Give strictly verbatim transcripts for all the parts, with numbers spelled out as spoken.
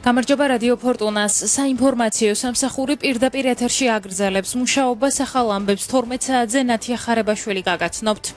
გამარჯობა რადიო ფორტუნას საინფორმაციო სამსახური პირდაპირ ეთერში აგრძელებს მუშაობას ახალ ამბებს თორმეტ საათზე ნათია ხარებაშვილი გაგაცნობთ.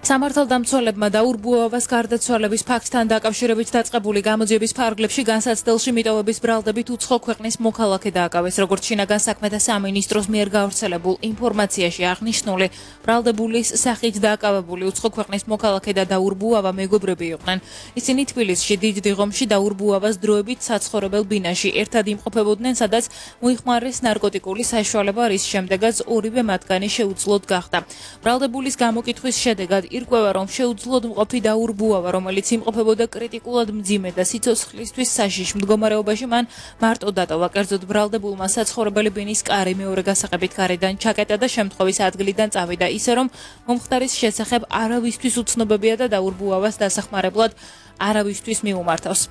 სამართალდამცველებმა დაურბუავას გარდაცვალების ფაქტთან დაკავშირებით დაწყებული გამოძიების ფარგლებში განსაცდელში მიტოვების ბრალდებით უცხო ქვეყნის მოქალაქე დააკავეს, როგორც შინაგან საქმეთა სამინისტროს მიერ გავრცელებულ ინფორმაციაში აღნიშნული, ბრალდებულის სახით დააკავებული უცხო ქვეყნის მოქალაქე და დაურბუავა მეგობრები იყვნენ. ისინი თბილისში დიდ დიღომში დაურბუავას დროებით საცხოვრებელ ბინაში ერთად იმყოფებოდნენ, სადაც მოიხმარეს ნარკოტიკული საშუალება, რის შემდეგაც ორივე მათგანი შეუძლოდ გახდა. ბრალდებულის გამოკითხვის შედეგად ირკვევა, რომ შეუძლოდ მყოფი დაურბუავა, რომელიც იმყოფებოდა კრიტიკულად მძიმე და სიცოცხლისთვის საშიშ მდგომარეობაში, მან მარტო დატოვა. კერძოდ ბრალდებულმა საცხოვრებელი ბინის კარი მეორე გასაღებით გარედან ჩაკეტა და შემთხვევის ადგილიდან წავიდა, ისე რომ მომხდარის შესახებ არავისთვის უცნობებია და დაურბუავას დასახმარებლად არავისთვის მიუმართავს.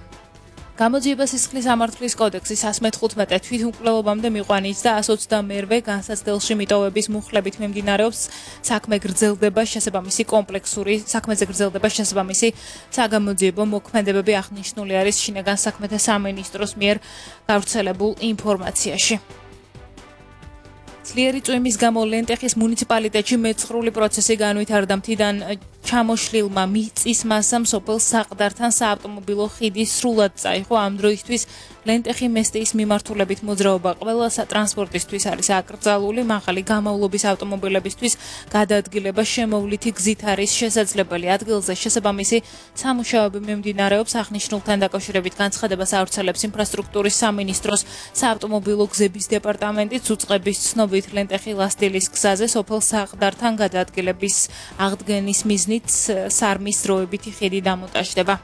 გამოძიება სისხლის სამართლის კოდექსის εκατს მეთერთმეტე თვითმკვლელობამდე მიყვანით და εκას ოცდამეერვე განსაცდელში მიტოვების მუხლებით მიმდინარეობს საქმე გრძელდება შესაბამისი კომპლექსური საქმეზე გრძელდება შესაბამისი საგამოძიებო მოქმედებები აღნიშნული არის შინაგან საქმეთა სამინისტროს მიერ გავრცელებულ ინფორმაციაში. ძლიერი წვიმის გამო ლენტეხის მუნიციპალიტეტში მეცხრული პროცესი განვითარდა. მთიდან ჩამოშლილმა მიწის მასამ სოფელ საყდართან საავტომობილო ხიდი სრულად წაიღო. ამ დროისთვის ლენტეხი მესტიის მიმართულებით მოძრაობა ყველა სატრანსპორტისთვის არის აკრძალული. მაღალი გამავლობის ავტომობილებისთვის გადაადგილება შემოვლითი გზით არის შესაძლებელი. ადგილზე შესაბამისი სამუშაოები მიმდინარეობს. აღნიშნულთან დაკავშირებით განცხადებას ავრცელებს ინფრასტრუქტურის სამინისტროს საავტომობილო გზების დეპარტამენტი. უწყების ცნობით ლენტეხი ლასტილის გზაზე სოფელ საყდართან გადაადგილების აღდგენის მიზნით სარმის დროებითი ხიდი დამონტაჟდება.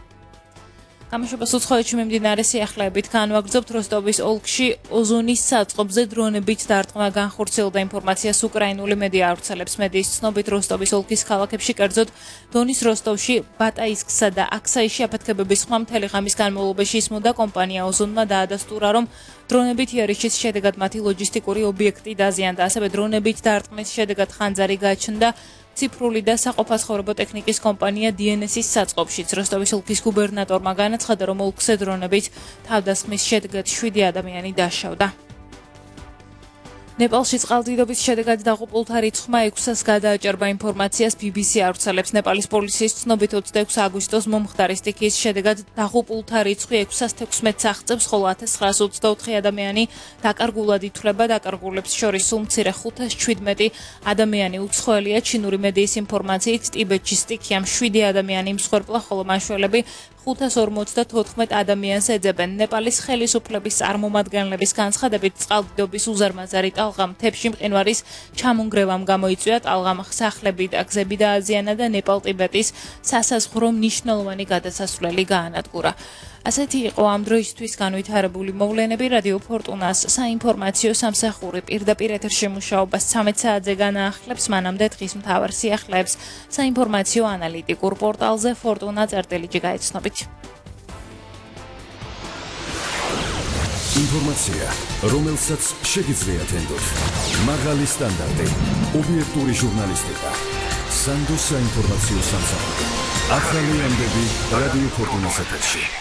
გამოშვებას უცხოეთში მიმდინარე სიახლეებით განვაგრძობთ. როსტოვის ოლქში ოზონის საწყობზე დრონებით დარტყმა განხორციელდა. ინფორმაციას უკრაინული მედია ავრცელებს. მედიის ცნობით როსტოვის ოლქის ქალაქებში, კერძოდ დონის როსტოვში, ბატაისკსა და აქსაიში აფეთქებების ხმა მთელი ღამის განმავლობაში ისმოდა. კომპანია ოზონმა დაადასტურა, რომ დრონებით იარიშის შედეგად მათი ლოჯისტიკური ობიექტი დაზიანდა. ასევე დრონებით დარტყმის შედეგად ხანძარი გაჩნდა ციფრული და საყოფაცხოვრებო ტექნიკის კომპანია დი en es-ის საწყობშიც. როსტოვის ოლქის გუბერნატორმა განაცხადა, რომ ოლქზე დრონებით თავდასხმის შედეგად შვიდი ადამიანი დაშავდა. ნეპალში წყალდიდობის შედეგად დაღუპულთა რიცხვმა ექვსას გადააჭარბა. ინფორმაციას ბი ბი სი ავრცელებს. ნეპალის პოლიციის ცნობით ოცდაექვსი აგვისტოს მომხდარი სტიქიის შედეგად დაღუპულთა რიცხვი ექვსას თექვსმეტს აღწევს, ხოლო ათას ცხრაას ოცდაოთხი ადამიანი დაკარგულად ითვლება. დაკარგულებს შორის სულ მცირე ხუთას შვიდმეტი ადამიანი უცხოელია. ჩინური მედიის ინფორმაციით ტიბეტში სტიქიამ შვიდი ადამიანი მსხვერპლა, ხოლო მაშველები ხუთას ორმოცდათოთხმეტ ადამიანს ეძებენ. ნეპალის ხელისუფლების წარმომადგენლების განცხადებით წყალდიდობის უზარმაზარი ტალღა მთებში მყინვარის ჩამონგრევამ გამოიწვია. ტალღამ სახლები და გზები დააზიანა და ნეპალ-ტიბეტის სასაზღვრო მნიშვნელოვანი გადასასვლელი გაანადგურა. ასეთი იყო ამ დროისთვის განვითარებული მოვლენები. რადიო ფორტუნას საინფორმაციო სამსახური პირდაპირ ეთერში მუშაობას ცამეტ საათზე განაახლებს. მანამდე დღის მთავარ სიახლეებს საინფორმაციო ანალიტიკურ პორტალზე ფორტუნა წერტილიჯი გაეცნობით. ინფორმაცია, რომელსაც შეგიძლიათ ენდოთ. მაღალი სტანდარტი, ობიექტური ჟურნალისტიკა. სანდოს საინფორმაციო სამსახური. ახალი ამბები რადიო ფორტუნას ეთერში.